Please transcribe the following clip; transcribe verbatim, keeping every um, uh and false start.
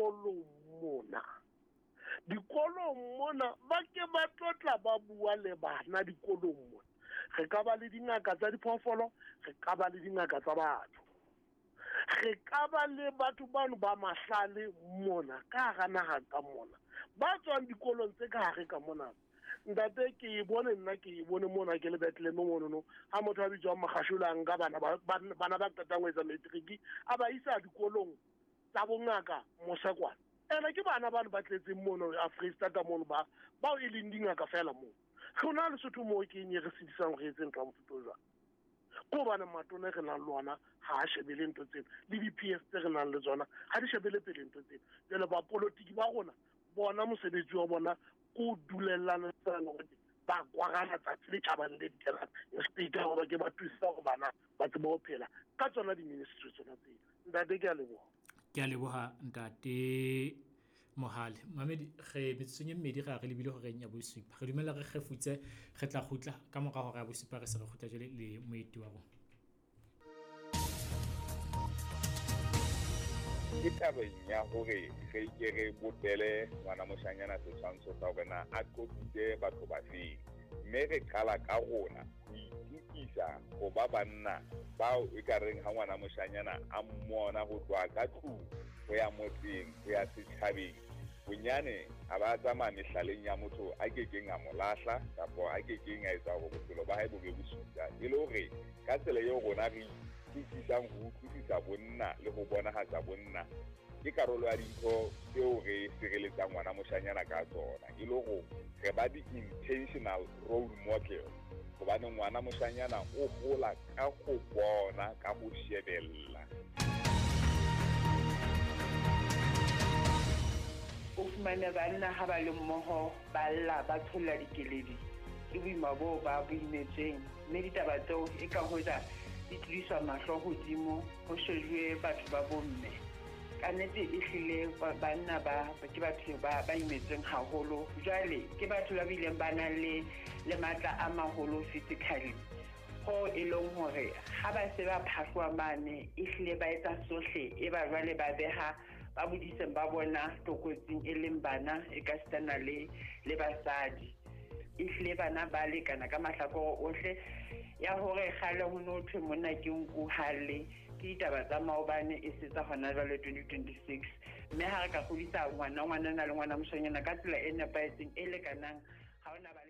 Dikolong mona, dikolong mona ba ke ba tlotla ba bua le bana dikolong mona. Re ka ba le dingaka tsa diphoofolo, re ka ba le dingaka tsa batho, re ka ba le batho bano ba mahlale mona ka hara naha ka mona, ba tswang dikolong tse ka hare ka mona. Ntate, ke e bone nna, ke e bone mona ke le Bethlehem monono, ha motho a bitswang Makgashola a nka bana ba bana ba qetang ho etsa matric a ba isa dikolong tsa bongaka mose kwana. Ene ke bana bano ba tletseng mono Freistata mono, ba bao e leng dingaka fela moo. Rona Lesotho moo ke eng e re sedisang re etse ntho ya mofuta o jwalo? Ke hobane matona re nang le ona ha a shebele ntho tseno, le di-P S tse re nang le tsona ha di shebele pele ntho tseno. Jwale bapolotiki ba rona bona mosebetsi wa bona ko dulellana hore ba kwarana tsatsi le tjhabang le dikelang, instead hore ke ba thusa hore bana ba tsebe ho phela ka tsona di-ministry tsona tseo. Ntate, ke a leboha. Ke a leboha ntate Mohale. Mamedi, re metsotsong e mmedi re a re lebile horeng ya bosupa. Re dumela re kgefutse, re tla kgutla ka mora hora ya bosupa, re se re kgutla jwale le moeti wa rona. Ke tabeng ya hore re ke re bopele ngwana moshanyana setshwantsho sa hore na a qoqitse batho ba feng, mme re qala ka rona ho itukisa ho ba banna bao e ka reng ha ngwana moshanyana a mmona ho tloha ka tlung ho ya motseng, ho ya setjhabeng, bonyane a ba tsamaya mehlaleng ya motho a kekeng a mo lahla kapa a kekeng a etsa hore bophelo ba hae bo be bosula. E le hore ka tsela eo rona re utlwisisang ho utlwisisa bonna le ho bonahatsa bonna ke karolo ya dintho tseo re sireletsang ngwana moshanyana ka tsona, e le hore re ba di-intentional role model, hobane ngwana moshanyana o hola ka ho bona, ka ho shebella. O fumane banna ha ba le mmoho ba lla, ba tsholla dikeledi, ke boima boo ba bo imetsweng, mme ditaba tseo e ka hoja di tlodiswa mahlo hodimo ho shejuwe batho ba bomme. Ka nnete e hlile banna ba ke batho ba ba imetsweng haholo, jwale ke batho ba bileng ba nang le le matla a maholo physically, ho e leng hore ha ba se ba phahloa mane e hlile ba etsa sohle, e ba jwale ba beha ba bodiseng ba bona tlokotsing e leng bana e ka sitana le le basadi. E hlile bana ba lekana ka mahlakore ohle. Ya hore kgale ho no thwe monna ke nku hale, ke ditaba tsa maobane e se tsa hona jwale twenty twenty-six. Mme ha re ka kgodisa ngwana ngwanana le ngwana moshanyana ka tsela e nepahetseng e lekanang, ha hona ba